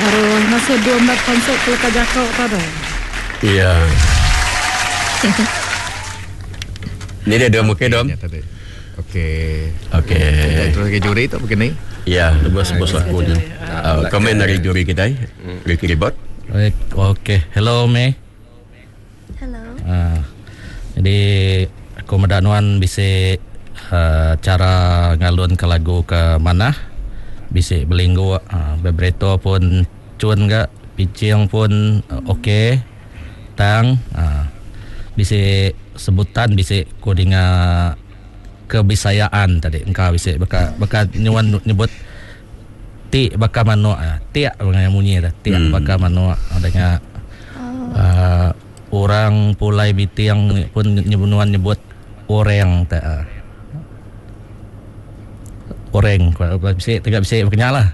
Baru ngasuh dua enda pansut ke leka jako tadi. Iya. Ni dia dom okey dom. Okey. Okey. Kita terus ke juri tu begini. Ya, bos-bos aku ni. Uh, komen dari juri kita, Ricky Ribot. Baik, okey. Hello May. Hello. Uh, jadi aku meda nuan bisi uh, cara ngalun ke lagu ke manah. Bisi belinggu uh, vibrato pun cun ga, pitching pun uh, okey. Tang uh, bisi sebutan bisi ku dinga kebisayaan tadi engka bisi baka baka nyuan nyebut ti baka manuk tiak munyi dah tiak hmm. baka manuk dengan oh. uh, orang pulai biting pun nyebunuan nyebut oreng tak uh. oreng bisi tegak bisi berkenyal lah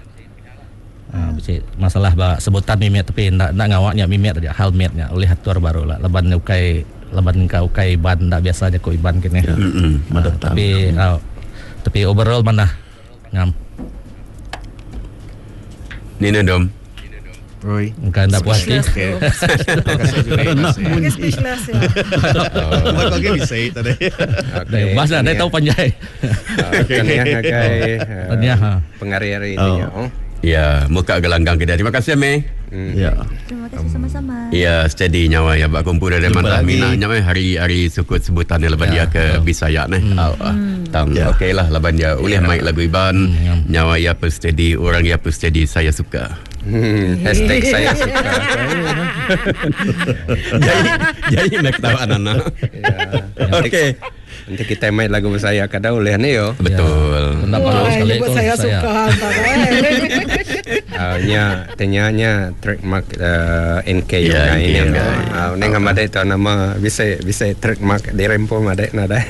uh, bisi masalah ba sebutan mimit tapi ndak ndak ngawak nya mimit aja hal mit nya oleh atur baru lah laban ukai laban ka ukai iban ndak biasa jaku iban kini mm -hmm. uh, tapi uh, tapi overall mana Ngam. Nina dom. Oi. Engka enda puas ati. Okey. Terima kasih juri. Lagi speechless ya. Buat lagi bisa tadi. Okey. Bas dah, dia tahu panjai. Tahniah ngagai Tahniah, ha. pengari-ari tu nya. Oh. Ya, muka gelanggang kita. Terima kasih Mei. Ya. Terima kasih sama-sama. Ya, steady nyawa ya bak kumpul dari Jumpa mantap lagi. mina nyawa hari hari sukut sebutan ni laban Ya, dia ke Bisaya ni. Hmm. Ah, ah. Tang Ya. okey lah laban dia ulih main lagu Iban. ya. Nyawa ya pun steady, orang ya pun steady, saya suka. Hashtag saya suka. jadi jadi nak ketawa anak-anak. Ya. Okey. Nanti kita main lagu saya kada boleh ni yo. Betul. Enda baru Wah, sekali nyebut tu saya suka antara. Uh, nya tanya nya trademark uh, NK Ya, yeah, NK ini. NK. Uh, neng amade tu nama bisa bisa trademark dirempo made nada.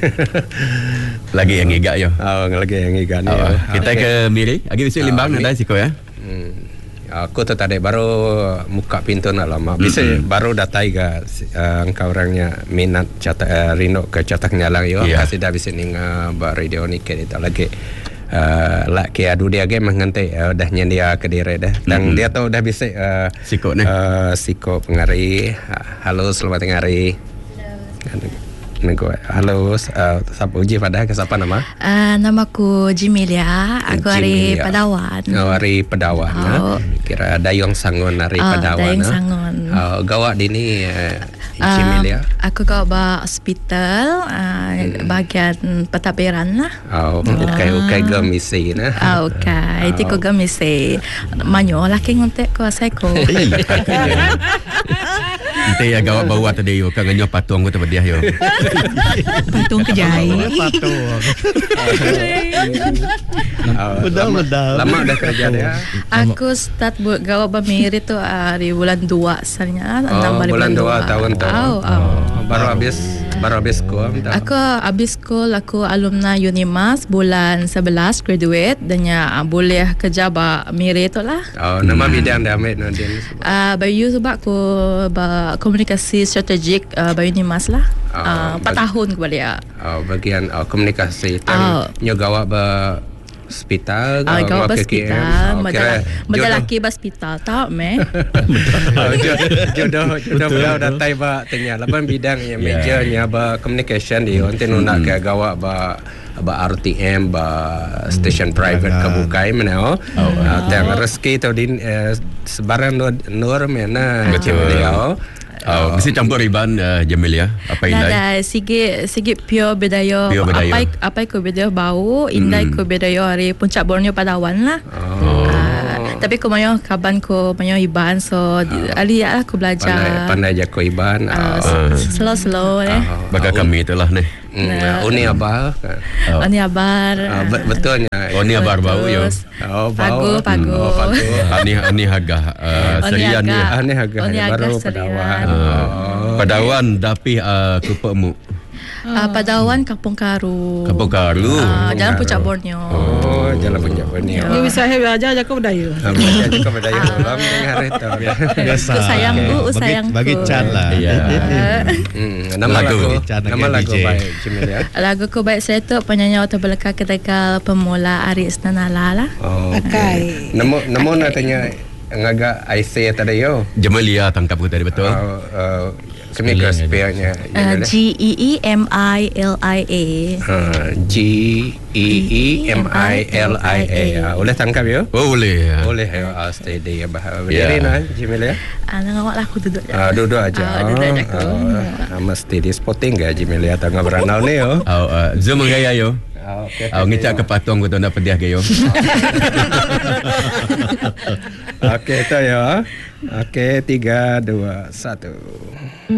Lagi yang ngigak yo. Oh, lagi yang ikan ni. Ah, yo. kita Okey. ke Miri. Lagi bisa limbang Ah, ada siko ya. Hmm. Aku tu tadi baru muka pintu nak lama. Bisa mm-hmm. baru datai ke uh, engkau orangnya minat catak uh, rindu ke catak nyalang yo. Ya. Yeah. Kasih dah bisa ninga ba radio ni ke itu lagi. Uh, lak ke adu dia ge mah nganti uh, dah nyendia ke diri dah. Dan mm-hmm. dia tu dah bisa uh, Siko ni. Uh, siko pengari. Halo selamat tengah hari. Halo. Nego. Halo, uh, siapa uji pada ke siapa nama? Nama aku Jimilia. Aku dari Jimilia. Padawan. Oh, hari Padawan. Oh. Ha? Kira Dayung Sangon hari Oh, Padawan. Dayung ha? Sangon. Oh, gawak dini uh, Ah, Jimilia. Aku kau ba hospital bahagian pentadbiran lah. Oh, ukai ukai gemisi nah. Ah, okay. Itu Oh. ko gamisi. Manyo lah ke ngontek ko asai ko. Nanti ya gawak bawa tadi yo kan nganyo patung ko dia yo. Patung kejai. Patung. Oh, Betul, lama, betul. Lama dah kerja dia. Aku start buat gawa bamiri tu di bulan 2 sebenarnya. Oh, Enam hari bulan dua. 2 tahun tu. Oh, oh. Oh, baru habis baru habis sekolah. minta. Aku habis school aku alumni Unimas bulan 11 graduate dan ya boleh kerja ba Miri tu lah. Oh, nama bidang dia ambil nanti. Bayu sebab aku ba komunikasi strategik ba Unimas lah. Oh, 4 tahun aku balik. Oh, bagian oh, komunikasi Oh. tang nyo gawak ba hospital Ah, gawak kau ke KKM. hospital, Oh, kira benda jodoh- laki hospital tak meh. Oh, jodoh jodoh beliau datai ba tanya laban bidang yang Yeah. majornya ba communication dia nanti nu nak ke gawak ba ba RTM ba station private ke bukai mana oh. Ah, tang rezeki tu din eh, sebarang nur, nur mana Betul. dia. Oh, mesti campur Iban uh, Jamilia apa indai. Nada sige sige pure bedaya. Pure bedaya. Apa apa ko bedaya bau, indai ko bedaya hari puncak Borneo Padawan lah. Oh. Ah, tapi ko mayo kaban ko mayo Iban so ali lah aku Pandai belajar. pandai jago Iban. Ah, Oh. slow slow eh. Baka kami itulah ni. Hmm, Uni abal. Oh. Ani abar. Ah, betulnya. Oh ni abar bau yo. Terus, Oh, bau. Pagu, pagu. Oh, pagu. Ani ani hagah uh, Oni serian ni. agak. Ah, ni harga Oni baru agak Padawan. serian. Oh. Padawan dapi uh, kupemu. Padawan Kampung Karu. Kampung Karu. Ah, Jalan Puncak Borneo. Oh, jalan puncak Borneo. Ni bisa he belajar jago budaya. Ah, Belajar juga berdaya dalam dengan hari tu. ya. Biasa. Ku sayangku, Bagi- sayangku. Bagi Chan lah. Ya. Nama Lagu. lagu, Chan nama lagi lagu DJ. baik Jimilia. Lagu ku baik saya tu penyanyi atau belaka ketegal pemula Aris Nanala lah. Oh. Akai. Nemu nemu nak tanya ngaga IC tadi yo. Jemalia tangkap ku tadi betul. Kami ke spellnya. G E E M I L I A. G E E M I L I A. Boleh tangkap yo? Oh boleh. Boleh yo. Steady ya bah. Berdiri nah Jemilia. Nang awak lah aku duduk je. Duduk aja. Duduk aja aku. Mesti di spotting ke Jemilia tengah beranau ni yo. Oh, zoom gaya yo. Okey. Ngecak ke patung ku tu nak pediah ke yo. Okey itu ya. Okey, 3 2 1.